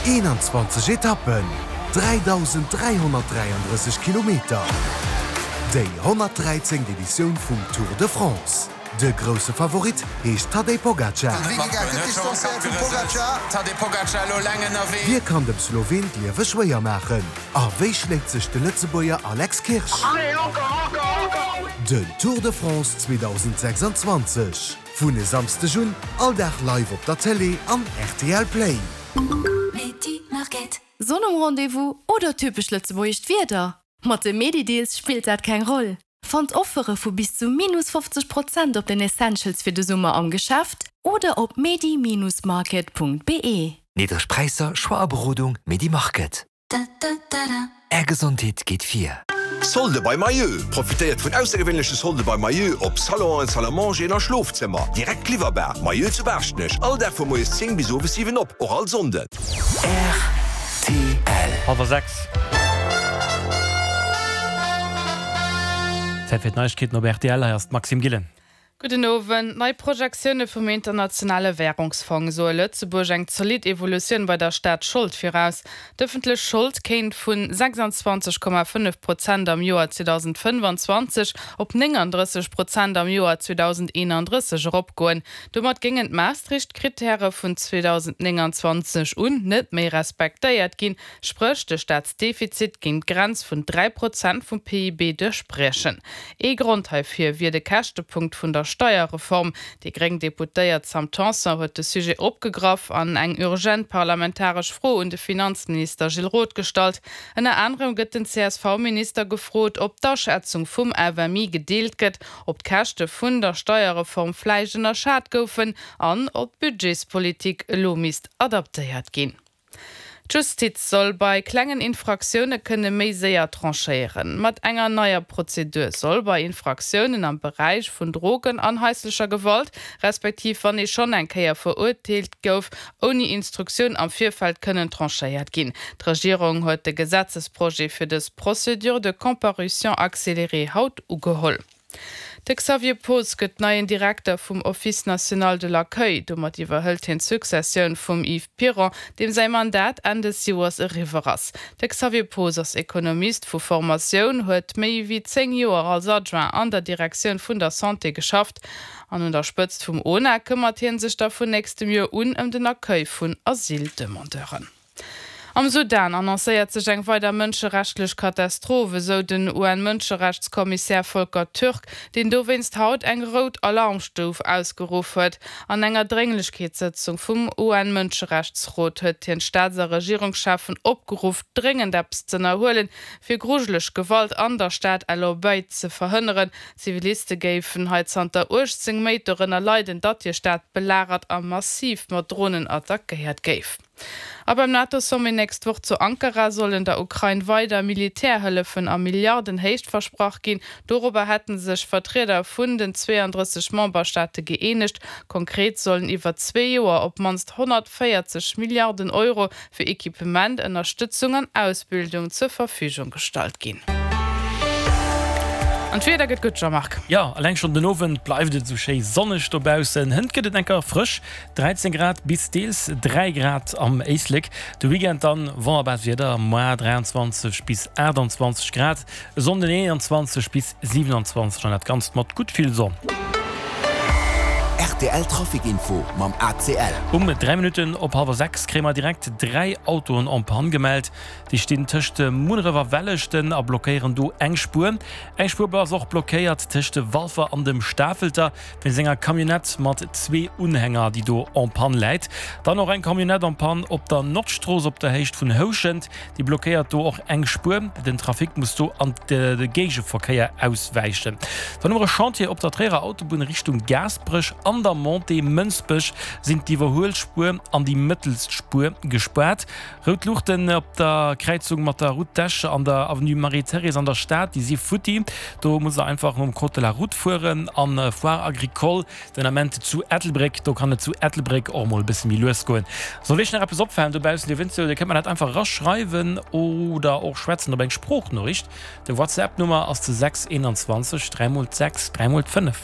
21 Etappen, 3.333 Kilometer, déi 113. Editioun vum Tour de France. De grousse Favorit heescht Tadej Pogacar. Wie kann dem Sloween d'Liewe schwéier maachen? A wéi schléit sech de Lëtzebuerger Alex Kirsch? Den Tour de France 2026 vun e Samsdeg un all Dag live op der Télé an rtl Play. Sonn um Rendez-vous oder typesch lëtzebuergescht Wieder? Mat de Medi-Deals spillt dat keng Roll. Fannt Offere vu bis zu minus 50 Prozent op den Essentials fir de Summer am Geschäft oder op medi-market.be. Niddreg Präisser, Choix a Berodung, Medi Market. Är Gesondheet geet vir. Solde bei Mayeux! Profitéiert vun aussergewéinleche Solde bei Mayeux op Salonen, Salle à mangeren a Schlofzëmmer. Direkt liwwerbar. Mayeux zu Baaschtnech, all Dag vu moies 10 bis owes 7 op, och all Sonnden. Rtl. Hallwer 6. Zäit fir d'Neiegkeeten op rtl. Hei ass d'Maxime Gillen. Gudden Owend. Nei Projektioune vum Internationale Wärungsfong soe Lëtzebuerg eng zolidd Evolutioun bei der Staatsschold viraus. D'ëffentlech Schold kéint vun 26,5 Prozent am Joer 2025 op 39 Prozent am Joer 2031 eropgoen. Domat géingen d'Maastricht-Krittäre vun 2029 un net méi respektéiert ginn, spréch de Staatsdefizit géing d'Grenz vun 3 Prozent vum PIB duerchbriechen. Ee Grond heifir wier de Käschtepunkt vun der Steierreform. Déi gréng Deputéiert Sam Tanson huet de Sujet opgegraff an eng urgent parlamentaresch Fro un de Finanzminister Gilles Roth gestallt. Ënner anerem gëtt den CSV-Minister gefrot, ob d'Aschätzung vum FMI gedeelt gëtt, ob d'Käschte vun der Steierreform vläicht ënnerschat goufen an ob d'Budgetspolitik elo misst adaptéiert ginn. D'Justiz soll bei klengen Infraktioune kënne méi séier tranchéieren. Mat enger neier Prozedur soll bei Infraktiounen am Beräich vun Drogen an haislecher Gewalt, respektiv wann ee schonn eng Kéier verurteelt gouf, ouni Instruktioun am Virfeld kënnen tranchéiert ginn. D'Regierung huet de Gesetzesprojet fir dës Procédure de comparution accélérée haut ugeholl. De Xavier Poos gëtt neien Direkter vum Office national de l'accueil. Domat iwwerhëlt hien d'Successioun vum Yves Piron, deem säi Mandat Enn des Joers eriwwer ass. De Xavier Poos ass Ekonomist vu Formatioun, huet méi wéi 10 Joer als Adjoint an der Direktioun vun der Santé geschafft an un der Spëtzt vum ONA këmmert hie sech da vun nächstem Joer un ëm den Accueil vun Asyldemandeuren. Am Sudan annoncéiert sech eng weider mënscherechtleg Katastroph, esou den UN-Mënscherechtskommissär Volker Türk, deen dowéinst haut eng rout Alarmstuf ausgeruff huet. An enger Drénglechkeetssëtzung vum UN-Mënscherechtsrot huet hien d'Staats a Regierungscheffen opgeruff, dréngend eppes z'ënnerhuelen, fir grujeleg Gewalt an der Stad El Obeid ze verhënneren. Ziviliste géifen hei zanter 18 Méint dorënner leiden, datt hir Stad belagert a massiv mat Dronen attackéiert géif. A beim NATO-Sommet nächst Woch zu Ankara sollen der Ukrain weider Militärhëllefen a Milliardenhéicht versprach ginn. Dorobber hätte sech Vertrieder vun den 32 Memberstaate gëeenegt. Konkret sollen iwwer zwee Joer op d'mannst 140 Milliarden Euro fir Equipement, Ënnerstëtzung an Ausbildung zur Verfügung gestallt ginn. An d'Wieder gëtt gutt, Jean-Marc. Jo, eleng schonn den Owend bleift et esou schéi sonneg dobaussen. Hënt gëtt et enker frësch, 13 Grad bis deels 3 Grad am Éislek. De Weekend dann wonnerbaart Wieder, moar 23 bis 28 Grad, e Sonnden 21 bis 27 an dat Ganzt mat gutt vill Sonn. Rtl Trafic Info mam ACL. Um 3 Minutten op hallwer 6 kréie mer direkt 3 Autoen en panne gemellt. Déi stinn tëscht Munneref a Welleschten a blockéieren do eng Spuer. Eng Spuer ass och blockéiert tëscht Walfer an dem Stafelter. Wéinst enger Camionnette mat zwee Unhänger, déi do en panne läit. Dann och eng Camionnette en panne op der Nordstrooss op der Héicht vun Houschent. Déi blockéiert do och eng Spuer. Den Trafic muss do an de Géigeverkéier auswäichen. Dann hu mer e Chantier op der Tréierer Autobunn Richtung Gaasperech. An der Montée Mënsbech sinn d'Iwwerhuelspuer an déi mëttelst Spuer gespaart. Rout Luuchten op der Kräizung mat der Route d'Esch an der Avenue Marie-Thérèse an der Stad, déi si futti. Do musst der einfach nom Code de la Route fueren. An Foire Agricole den Ament zu Ettelbréck, do kann et zu Ettelbréck och mol e bësse méi lues goen. Sollt iech nach eppes opfalen dobaussen, dir wënnt jo, dir kënnt mer dat einfach eraschreiwen oder och schwätzen op eng Sproochnoriicht. De WhatsApp Nummer ass de 6 21 3 mol d'Sechs 3 mol d'Fënnef.